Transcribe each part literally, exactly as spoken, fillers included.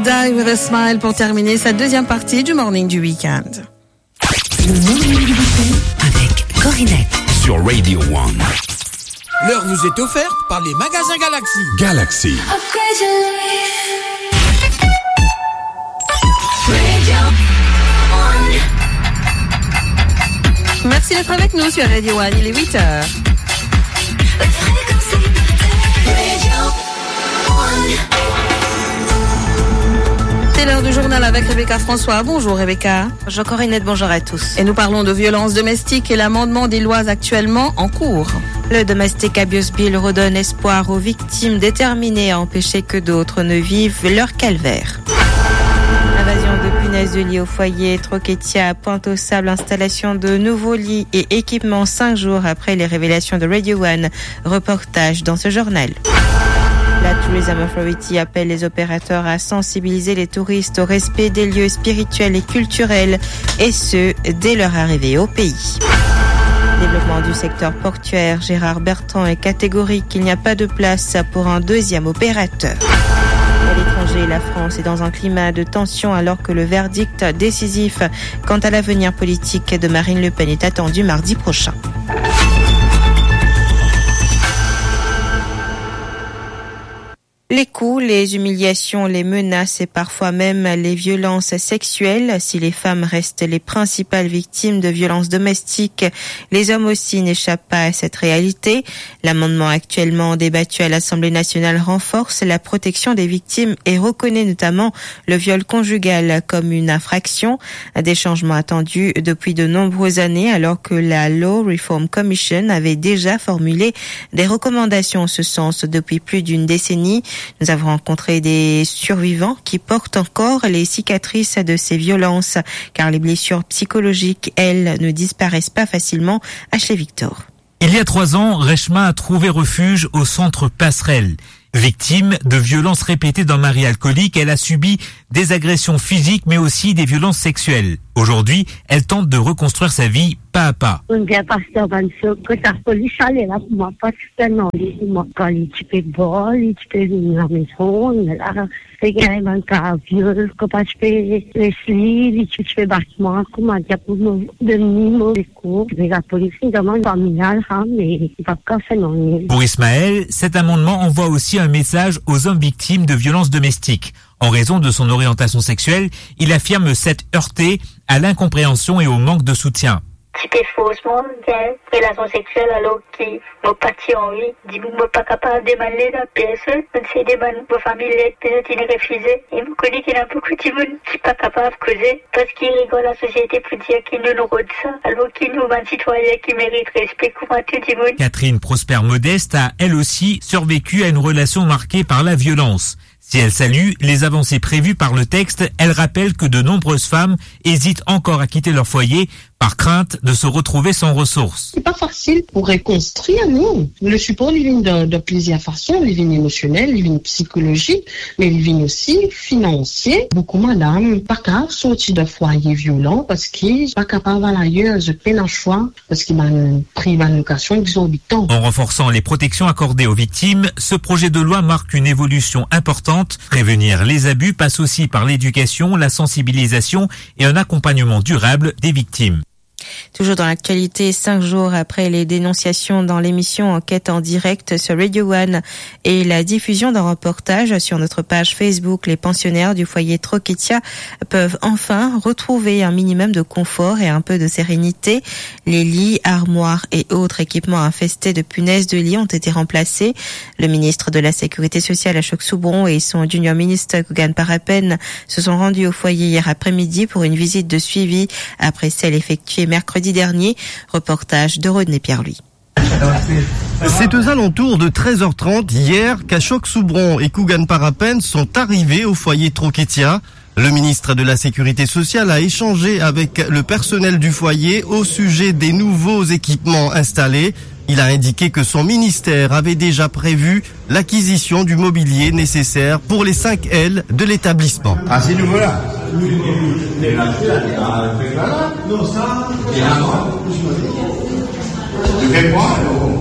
Die with a Smile pour terminer cette deuxième partie du Morning du Week-end. Le Morning du Week-end avec Corinette. Sur Radio One. L'heure vous est offerte par les magasins Galaxy. Galaxy. Upgrade your life. Radio One. Merci d'être avec nous sur Radio One, il est huit heures. Fréquence Radio One. C'est l'heure du journal avec Rebecca François. Bonjour Rebecca. Bonjour Corinette, bonjour à tous. Et nous parlons de violence domestique et l'amendement des lois actuellement en cours. Le Domestic Abuse Bill redonne espoir aux victimes déterminées à empêcher que d'autres ne vivent leur calvaire. Invasion de punaises de lit au foyer, Troquetia, Pointe aux Sables, installation de nouveaux lits et équipements cinq jours après les révélations de Radio One. Reportage dans ce journal. La Tourism Authority appelle les opérateurs à sensibiliser les touristes au respect des lieux spirituels et culturels, et ce, dès leur arrivée au pays. Développement du secteur portuaire, Gérard Bertrand est catégorique, il n'y a pas de place pour un deuxième opérateur. À l'étranger, la France est dans un climat de tension alors que le verdict décisif quant à l'avenir politique de Marine Le Pen est attendu mardi prochain. Les coups, les humiliations, les menaces et parfois même les violences sexuelles. Si les femmes restent les principales victimes de violences domestiques, les hommes aussi n'échappent pas à cette réalité. L'amendement actuellement débattu à l'Assemblée nationale renforce la protection des victimes et reconnaît notamment le viol conjugal comme une infraction. Des changements attendus depuis de nombreuses années, alors que la Law Reform Commission avait déjà formulé des recommandations en ce sens depuis plus d'une décennie. Nous avons rencontré des survivants qui portent encore les cicatrices de ces violences, car les blessures psychologiques, elles, ne disparaissent pas facilement. Ashley Victor. Il y a trois ans, Reshma a trouvé refuge au centre Passerelle. Victime de violences répétées d'un mari alcoolique, elle a subi des agressions physiques, mais aussi des violences sexuelles. Aujourd'hui, elle tente de reconstruire sa vie pas à pas. Monn bien pas dan bann so, kot lapolis ale la pou mwa, pa ti pe nanye li pou mwa. Kan li ti pe bwar, li ti pe vinn lamezon, la, pe gagn bann ka viol, kan pa ti pe les li, li ti, ti pe bat mwa, kouma dir pou mo, donn li mo sekour. Me lapolis inn demann familyal, ha, me li pa kapav fer nanye. Pour Ismaël, cet amendement envoie aussi un message aux hommes victimes de violences domestiques. En raison de son orientation sexuelle, il affirme s'être heurté à l'incompréhension et au manque de soutien. Ti pe fors mwa gagn relasion seksyel alor ki mo pa ti anvi. Dimoun mo pa kapav demann led a personn, mo ti demann mo fami led, personn ti refize. E mo kone ki ena boukou dimoun ki pa kapav koze, parski regard lasosiete pou dir ki nou, nou rod sa, alor ki nou bann sitwayin ki merit respe kouma tou dimoun. Catherine Prosper Modeste a, elle aussi, survécu à une relation marquée par la violence. Si elle salue les avancées prévues par le texte, elle rappelle que de nombreuses femmes hésitent encore à quitter leur foyer par crainte de se retrouver sans ressources. Se pa fasil pou rekonstrir, non. Le sipor, li vinn dan, dan plizier fason. Li vinn emosionel, li vinn psikolozik, me li vinn osi finansie. Boukou madam pa kapav sorti dan fwaye violan parski pa kapav al ayer, zot pena swa. Parski bann pri bann lokasion egzorbitan. En renforçant les protections accordées aux victimes, ce projet de loi marque une évolution importante. Prévenir les abus passe aussi par l'éducation, la sensibilisation et un accompagnement durable des victimes. Toujours dans l'actualité, cinq jours après les dénonciations dans l'émission Enquête en direct sur Radio One et la diffusion d'un reportage sur notre page Facebook, les pensionnaires du foyer Troquetia peuvent enfin retrouver un minimum de confort et un peu de sérénité. Les lits, armoires et autres équipements infestés de punaises de lit ont été remplacés. Le ministre de la Sécurité sociale, Ashok Soubron, et son junior ministre, Kugan Parapen, se sont rendus au foyer hier après-midi pour une visite de suivi après celle effectuée mercredi dernier. Reportage de Rodney Pierre-Louis. C'est aux alentours de treize heures trente hier qu'Ashok Soubron et Kugan Parapen sont arrivés au foyer Troquetia. Le ministre de la Sécurité sociale a échangé avec le personnel du foyer au sujet des nouveaux équipements installés. Il a indiqué que son ministère avait déjà prévu l'acquisition du mobilier nécessaire pour les cinq ailes de l'établissement. Ah, c'est nouveau là.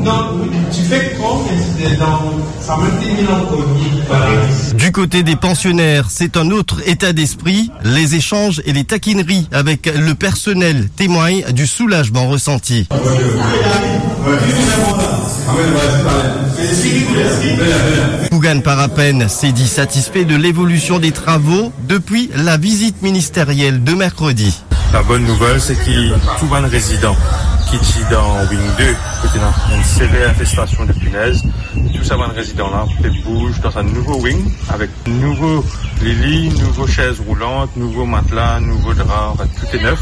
Non, tu fais quoi, mais c'est dans, ça même des mille en premier, voilà. Du côté des pensionnaires, c'est un autre état d'esprit. Les échanges et les taquineries avec le personnel témoignent du soulagement ressenti. Pou Gann Parapen s'est dit satisfait de l'évolution des travaux depuis la visite ministérielle de mercredi. La bonne nouvelle, c'est que tous les résidents qui sont dans Wing deux, qui étaient dans une sévère infestation de punaises, tous ces résidents-là peuvent bouger dans un nouveau wing avec nouveau lit, nouveau chaise roulante, nouveau matelas, nouveau drap, en fait, tout est neuf.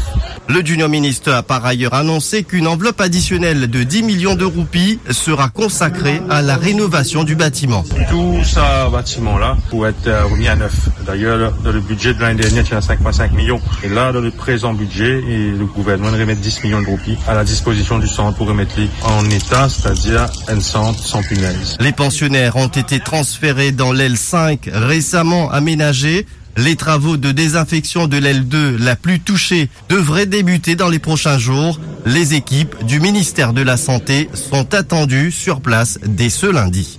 Le Junior Minister a par ailleurs annoncé qu'une enveloppe additionnelle de dix millions de roupies sera consacrée à la rénovation du bâtiment. Tout ce bâtiment-là pour être euh, remis à neuf. D'ailleurs, dans le budget de l'année dernière, il y a cinq virgule cinq millions. Et là, dans le présent budget, et le gouvernement remet dix millions de roupies à la disposition du centre pour remettre les en état, c'est-à-dire un centre sans punaise. Les pensionnaires ont été transférés dans l'aile cinq récemment aménagée. Les travaux de désinfection de l'aile deux, la plus touchée, devraient débuter dans les prochains jours. Les équipes du ministère de la Santé sont attendues sur place dès ce lundi.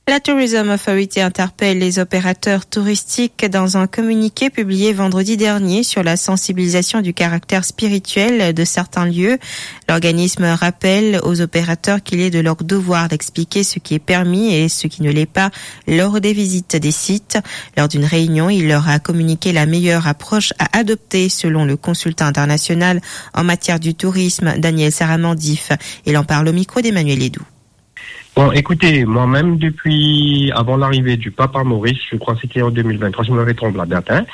La Tourism Authority interpelle les opérateurs touristiques dans un communiqué publié vendredi dernier sur la sensibilisation du caractère spirituel de certains lieux. L'organisme rappelle aux opérateurs qu'il est de leur devoir d'expliquer ce qui est permis et ce qui ne l'est pas lors des visites des sites. Lors d'une réunion, il leur a communiqué la meilleure approche à adopter selon le consultant international en matière du tourisme, Daniel Saramandif. Il en parle au micro d'Emmanuel Edou. Bon, écoutez, moi-même, depuis avant l'arrivée du pape à Maurice, je crois que c'était en deux mille vingt-trois, si je me trompe la date, hein,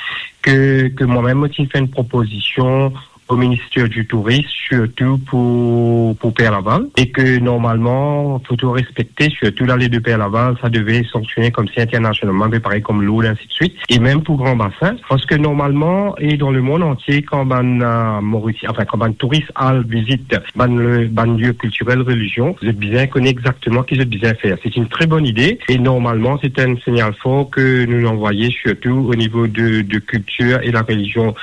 que, que moi-même aussi fait une proposition au ministère du Tourisme, surtout pour, pour Père Laval, et que normalement, faut tout respecter, surtout l'allée de Père Laval, ça devait fonctionner comme si internationalement, mais pareil comme Lourdes, ainsi de suite, et même pour Grand Bassin, parce que normalement, et dans le monde entier, quand bann euh, Maurice, enfin, quand bann touris al vizit bann, le, bann lieu culturel, religion, zot bizin kone exactement ki zot bizin fer. C'est une très bonne idée, et normalement, c'est un signal fort que nous envoyons surtout au niveau de, de culture et la religion.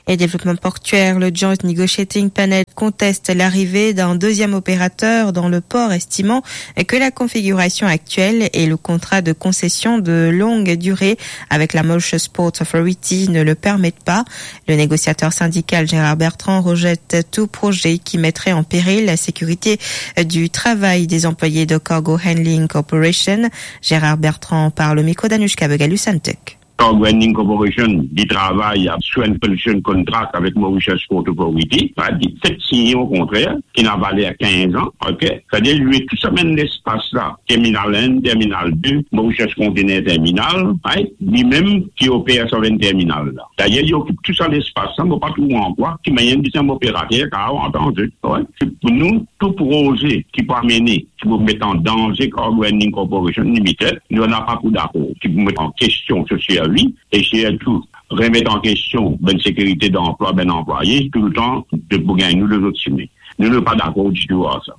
Et développement portuaire, le Joint Negotiating Panel conteste l'arrivée d'un deuxième opérateur dans le port, estimant que la configuration actuelle et le contrat de concession de longue durée avec la Mauritius Ports Authority ne le permettent pas. Le négociateur syndical Gérard Bertrand rejette tout projet qui mettrait en péril la sécurité du travail des employés de Cargo Handling Corporation. Gérard Bertrand parle au micro d'Anushka Begalu-Santek. Cargo Handling Corporation, li travay sur une concession contract avec Mauritius Port Authority, li fek sign an kontra ki ena valer quinze ans, ok? C'est-à-dire, li tou sa bann lespas la, terminal un, terminal deux, Mauritius Container Terminal, right? Li mem ki oper sa bann terminal la. D'ailleurs, li okip tou sa lespas la, mo pa trouv an kwa ki manier bizin operater kapav antann zot, right? Pou nou, tou proze ki pou amene, ki pou met an danze Cargo Handling Corporation Limited, nou napa pou dakor, ki pou met an kestion so servi, e sirtou remet an kestion bann sekirite danplwa bann anplwaye, touletan, zot pou gagn nou lezot sime. Nou, nou pa dakor ditou ar sa.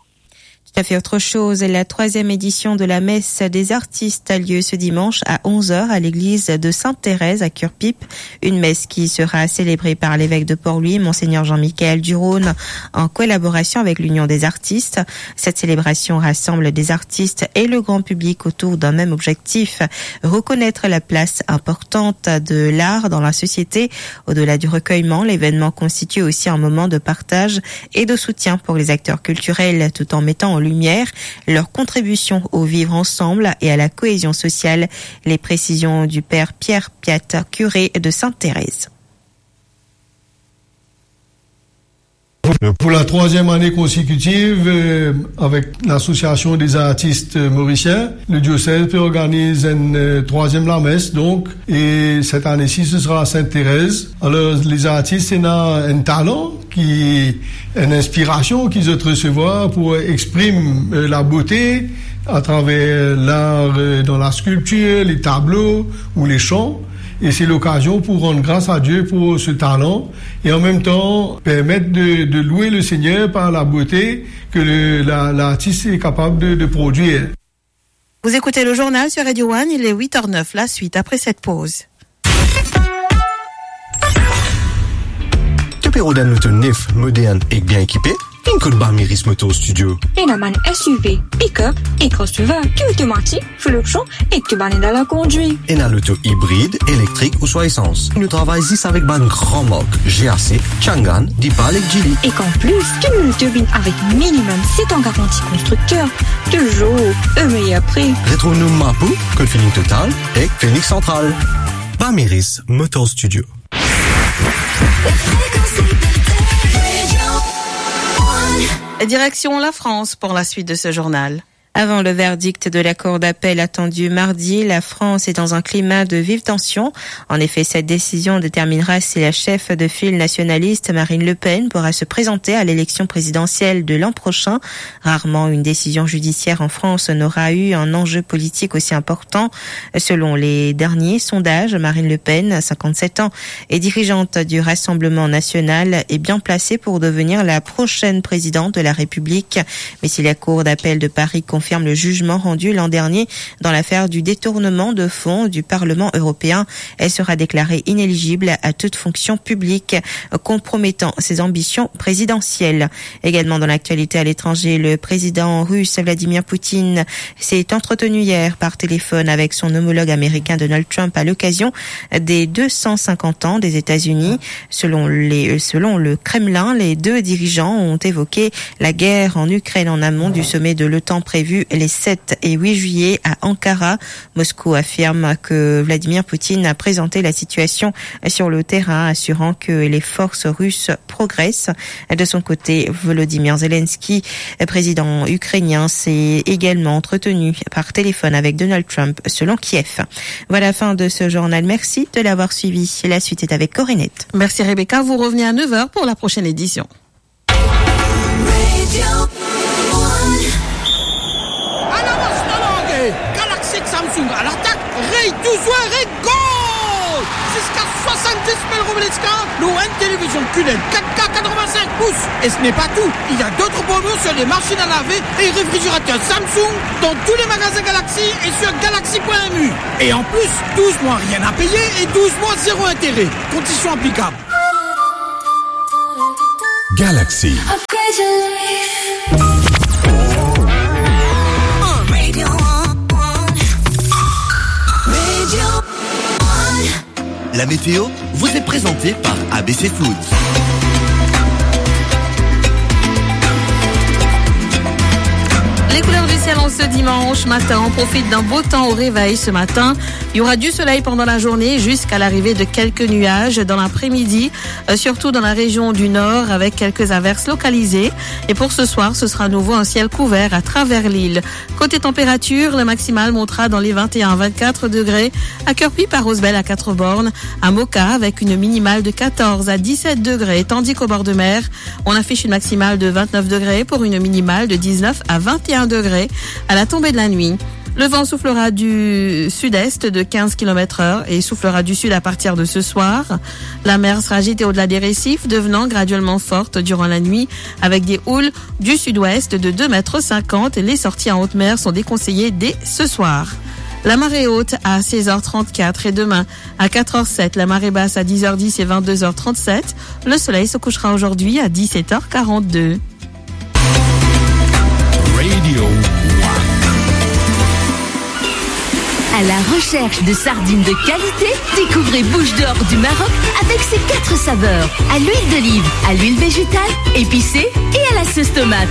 Tout à fait autre chose, la troisième édition de la messe des artistes a lieu ce dimanche à onze heures à l'église de Sainte-Thérèse à Curepipe. Une messe qui sera célébrée par l'évêque de Port-Louis, Monseigneur Jean-Michel Durosne, en collaboration avec l'Union des artistes. Cette célébration rassemble des artistes et le grand public autour d'un même objectif, reconnaître la place importante de l'art dans la société. Au-delà du recueillement, l'événement constitue aussi un moment de partage et de soutien pour les acteurs culturels, tout en mettant en lumière leur contribution au vivre ensemble et à la cohésion sociale. Les précisions du père Pierre Piat, curé de Sainte-Thérèse. Pour la troisième année consécutive, euh, avec l'Association des artistes mauriciens, le diocèse peut organiser une euh, troisième lamesse, donc, et cette année-ci, ce sera à Sainte-Thérèse. Alors, les artistes, ils ont un talent, qui, une inspiration qu'ils ont recevoir pour exprimer euh, la beauté à travers l'art euh, dans la sculpture, les tableaux ou les chants. Et c'est l'occasion pour rendre grâce à Dieu pour ce talent et en même temps permettre de, de louer le Seigneur par la beauté que le- la- l'artiste est capable de, de produire. Vous écoutez le journal sur Radio One, il est huit heures neuf, la suite après cette pause. Tout Pe rod enn loto nef, modern ek bien ekipe? Vinn kot Bamiris Motor Studio. Ena bann S U V, pick-up e crossover, ki otomatik, fil opsion ek ki bann ed a la kondwir. Ena loto ibrid, elektrik ouswa esans. Nou travay zis avek bann gran mark, G A C, Changan, Deepal ek Geely. Ek an plis, tou nou loto vinn avek minimum set an garanti konstrikter, touzour o meyer pri. Retrouv nou Mapou, kot Feeling Total ek Phoenix Central. Bamiris Motor Studio. Direction la France pour la suite de ce journal. Avant le verdict de la Cour d'appel attendu mardi, la France est dans un climat de vive tension. En effet, cette décision déterminera si la chef de file nationaliste Marine Le Pen pourra se présenter à l'élection présidentielle de l'an prochain. Rarement une décision judiciaire en France n'aura eu un enjeu politique aussi important. Selon les derniers sondages, Marine Le Pen, cinquante-sept ans, et dirigeante du Rassemblement national, est bien placée pour devenir la prochaine présidente de la République. Mais si la Cour d'appel de Paris confirme le jugement rendu l'an dernier dans l'affaire du détournement de fonds du Parlement européen, elle sera déclarée inéligible à toute fonction publique, compromettant ses ambitions présidentielles. Également dans l'actualité à l'étranger, le président russe Vladimir Poutine s'est entretenu hier par téléphone avec son homologue américain Donald Trump à l'occasion des deux cent cinquante ans des États-Unis. Selon les, euh, selon le Kremlin, les deux dirigeants ont évoqué la guerre en Ukraine en amont du sommet de l'otan prévu les sept et huit juillet à Ankara. Moscou affirme que Vladimir Poutine a présenté la situation sur le terrain, assurant que les forces russes progressent. De son côté, Volodymyr Zelensky, président ukrainien, s'est également entretenu par téléphone avec Donald Trump, selon Kiev. Voilà la fin de ce journal. Merci de l'avoir suivi. La suite est avec Corinette. Merci Rebecca. Vous revenez à neuf heures pour la prochaine édition. Galaxy ek Samsung à l'attaque, rey tou zwer e gol! Ziska swasann-dis mil roubi discount lor enn televizion Q L E D quatre K quatre-vingt-cinq pouces. Et ce n'est pas tout, il y a d'autres promos sur les machines à laver et réfrigérateurs Samsung dans tous les magasins Galaxy et sur galaxy point M U. Et en plus, douze mois rien à payer et douze mois zéro intérêt. Conditions applicables. Galaxy. Upgrade your life. On Radio One. Radio One. La météo vous est présentée par A B C Foods. Les couleurs du ciel en ce dimanche matin, on profite d'un beau temps au réveil ce matin. Il y aura du soleil pendant la journée jusqu'à l'arrivée de quelques nuages dans l'après-midi, euh, surtout dans la région du nord avec quelques averses localisées. Et pour ce soir, ce sera à nouveau un ciel couvert à travers l'île. Côté température, le maximal montera dans les vingt et un à vingt-quatre degrés à Querpy, par Rosebel, à Quatre-Bornes, à Moka avec une minimale de quatorze à dix-sept degrés, tandis qu'au bord de mer, on affiche une maximale de vingt-neuf degrés pour une minimale de dix-neuf à vingt et un degrés à la tombée de la nuit. Le vent soufflera du sud-est de quinze kilomètres heure et soufflera du sud à partir de ce soir. La mer sera agitée au-delà des récifs, devenant graduellement forte durant la nuit avec des houles du sud-ouest de deux mètres cinquante. Les sorties en haute mer sont déconseillées dès ce soir. La marée haute à seize heures trente-quatre et demain à quatre heures sept, la marée basse à dix heures dix et vingt-deux heures trente-sept. Le soleil se couchera aujourd'hui à dix-sept heures quarante-deux. Radio One. À la recherche de sardines de qualité, découvrez Bouche d'Or du Maroc avec ses quatre saveurs. À l'huile d'olive, à l'huile végétale, épicée et à la sauce tomate.